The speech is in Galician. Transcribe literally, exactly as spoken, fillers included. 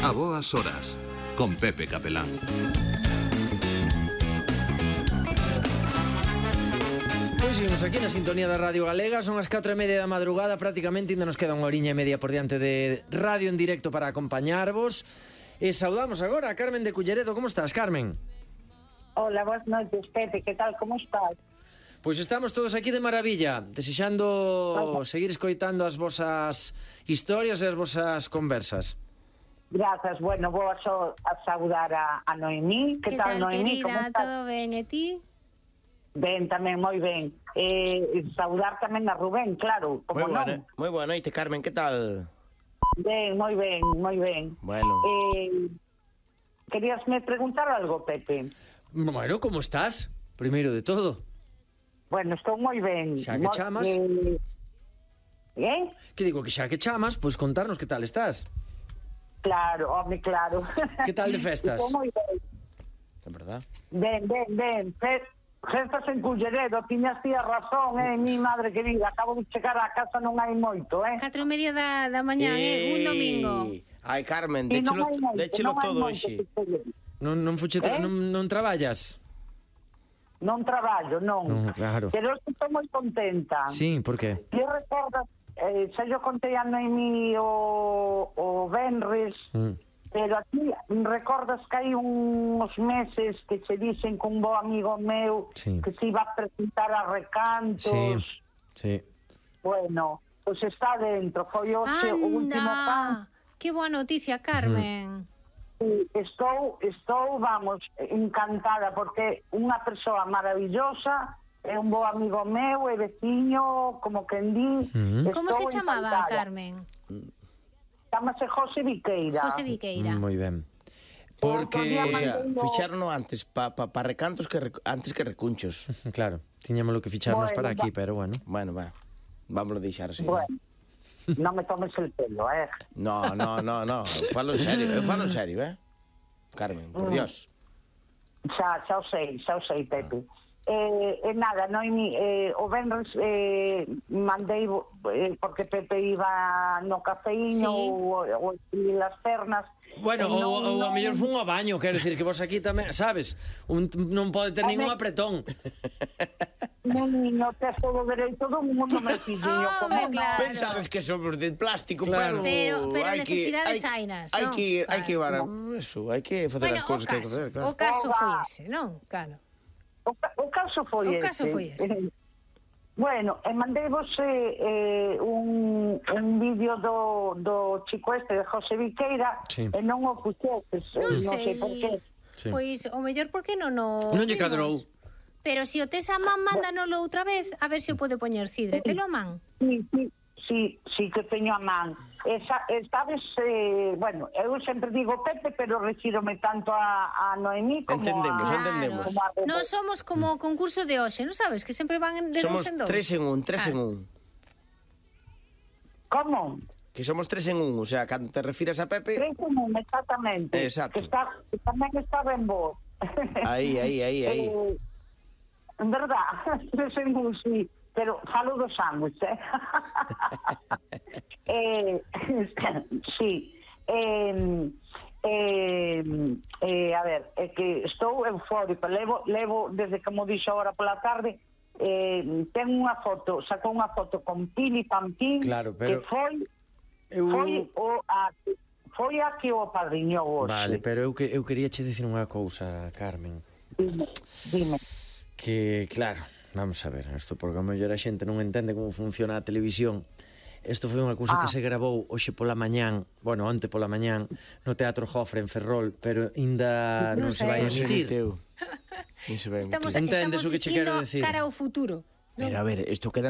A boas horas, con Pepe Capelán. Pois seguimos aquí na sintonía da Radio Galega. Son as catro e media da madrugada. Prácticamente ainda nos queda unha horiña e media por diante de radio en directo para acompañarvos. E saudamos agora a Carmen de Culleredo. Como estás, Carmen? Hola, boas noites, Pepe, que tal, como estás? Pois estamos todos aquí de maravilla, desexando seguir escoitando as vosas historias e as vosas conversas. Grazas, bueno, vou a, so, a saudar a, a Noemí. Que, que tal, tal, Noemí? querida? Como estás? Todo ben, e ti? Ben, tamén, moi ben. Eh, saudar tamén a Rubén, claro, como Moi boa, non. moi boa noite, Carmen, que tal? Ben, moi ben, moi ben. Bueno. Eh, queríasme preguntar algo, Pepe? Bueno, como estás? Primeiro de todo. Bueno, estou moi ben. Xa que Moi- chamas. Eh, eh? Que digo que xa que chamas, pois contarnos que tal estás. Claro, home, claro. Que tal de festas? Estou moi ben. É verdad? Ben, ben, ben. Fe- Festas en Culleredo, tiñas ti a razón, eh, mi madre querida. Acabo de chegar a casa, non hai moito, eh. Catro e media da, da mañá, eh, un domingo. Ai, Carmen, E non déchelo, hai moito, déchelo non hai todo moito hoxe. que se- Non, non, fuche tra- Eh? non, non traballas? Non traballo, non. Non, claro. Pero estou moi contenta. Sí, por que? Ti recordas, eh, xa yo contei a Noemí o, o Benres, Mm. pero aquí recordas que hai uns meses que se dicen que un bo amigo meu Sí. que se iba a presentar a Recantos. Sí, sí. Bueno, pois pues está dentro, foi hoxe o último pan. Anda, que boa noticia, Carmen. Sí, estou, estou, vamos, encantada, porque unha persoa maravillosa, é un bo amigo meu, é veciño, como quen di. Mm. Como se estou chamaba, encantada. Carmen? Chámase José Viqueira. José Viqueira. Moi ben. Outro día Porque, O sea, Mandei o- fixárono antes pa, pa, pa recantos que rec- antes que recunchos. claro, tiñamos lo que ficharnos Bueno, para aquí, va- pero bueno. Bueno, va. Vámonos deixar así. Bueno, non me tomes el pelo, eh. No, no, no, no. Falo en serio, eu falo en serio, eh? Carmen, por Mm. Dios. Xa, xa o sei, xa o sei, Pepe. Eh, e nada, Noemi, eh, o Benres eh, mandei, eh, porque Pepe iba no cafeíno Sí. ou, ou e las pernas. Bueno, e ou, non- ou a non- mellor fun ao baño, quero dicir que vos aquí tamén, sabes? Un, non pode ter ningún Home. apretón. Non, no tes todo o dereito do mundo, meu filliño, Oh, como ben, non? claro. Pensades que somos de plástico, Claro. pero Pero- pero hai que necesidades hai- hainas, Hai non? que hai que Claro. llevar eso, hai que facer Bueno, as o cousas que hai que caso, facer, claro. o caso Oba. foi ese, non? Claro. O, ca- o caso foi O ese. caso foi ese. Eh, Bueno, e mandei vos eh, eh, un, un vídeo do, do chico este de José Viqueira Sí. e non o puxetes, eh, Non non sei por qué. Sí. Pois o mellor porque non o Non lle vimos. cadrou. Pero se o tes a man, mándanolo outra vez, a ver se o pode poñer Cidre. Telo a man. Sí, sí, sí, sí que teño a man. Esa, eh, sabes, eh, bueno, eu sempre digo Pepe, pero refírome tanto a, a Noemí como Entendemos, a... entendemos. como a Pepe. Non somos como o concurso de hoxe, non sabes? Que sempre van de Somos dous en dous. tres en un, tres en Claro. un. Como? Que somos tres en un, o sea, cando te refires a Pepe, Tres en un, exactamente. Exacto. Que, está, que tamén está ben vos. aí, aí, aí, aí. Eh, en verdad, tres en un, sí. Pero falo do sándwich, eh? eh sí. Eh, eh, eh, a ver, é que estou eufórica. Levo, levo desde que mo dixo agora pola tarde, eh, ten unha foto, sacou unha foto con Pili Pampín, Claro, pero- que foi Eu... foi o a, foi a que o padriñou hoxe. Vale, pero eu, que, eu quería che dicir unha cousa, Carmen. Dime, dime. Que, claro, vamos a ver, isto porque a mellor a xente non entende como funciona a televisión. Isto foi unha cousa Ah. que se grabou hoxe pola mañán, bueno, onte pola mañán, no Teatro Jofre en Ferrol, pero ainda non, Non se vai sei. emitir. Emitiu. Ni se vai Estamos, emitir. Entendes estamos o que che quero indo decir? cara ao futuro. Pero a ver, isto queda